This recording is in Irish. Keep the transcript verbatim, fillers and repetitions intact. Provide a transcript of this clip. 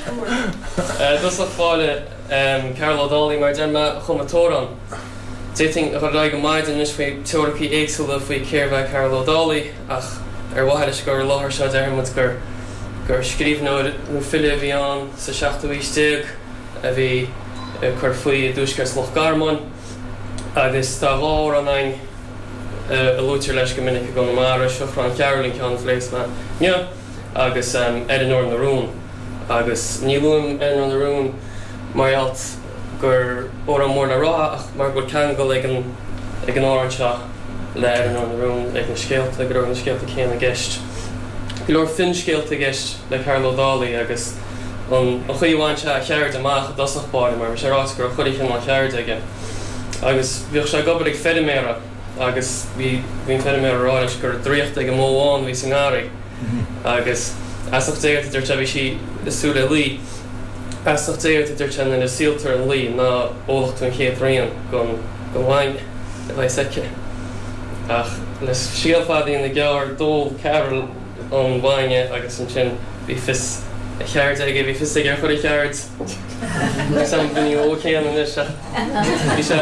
I dtosach báire Cearbhall Ó Dálaigh mar deir mé a chum an t-amhrán. D'fhéadfainn a dhul ar aghaidh go maidin anois faoi teoiricí éagsúla faoi cérbh é Cearbhall Ó Dálaigh ach ar mhaithe leis an gcur i láthair seo déarfaidh muid gur gur scríbhneoir nó file a bhí ann sa seachtú haois déag a bhí ag cur faoi i dtuaisceart Loch Garman agus tá dhá amhrán againn a luaitear leis go minic i gConamara, Siochrán Chearbhaill an ceann a phléifeas mé inniu agus Eireannóir na Rún. Agus ní luaim Eireannóir na Rún mar gheall gur amhrán mór le rá ach mar go bhfuil ceangal ag an ag an amhrán seo le Eireannóir na Rún, ag na scéalta, go raibh na scéalta céanna i gceist. Go leor finscéalta i gceist le Cearbhall Ó Dálaigh agus an chaoi a bhain sé a cheird amach i dtosach báire mar bhí sé ráite go raibh chuile chineál ceirde aige agus bhíodh sé ag obair ag feirméara agus bhí bhí an feirmeoir ag rá leis go raibh draíocht ag an mbó bhán a bhí sa ngarraí agus feasacht Dé ort a dúirt sé bhí sí ag súil le lao. Feasacht Dé ort a dúirt sé nuair a síoltar an lao ná ólfaidh tú an chéad bhraon den den bhainne a bheas aici. Ach le scéal fada a dhéanamh gearr d'ól Cearbhall an bainne agus ansin bhí fios a cheirde aige, bhí fios aige ar chuile cheird. Níl a fhios agam an bhfuil ní ó céanna anois ach bhí sé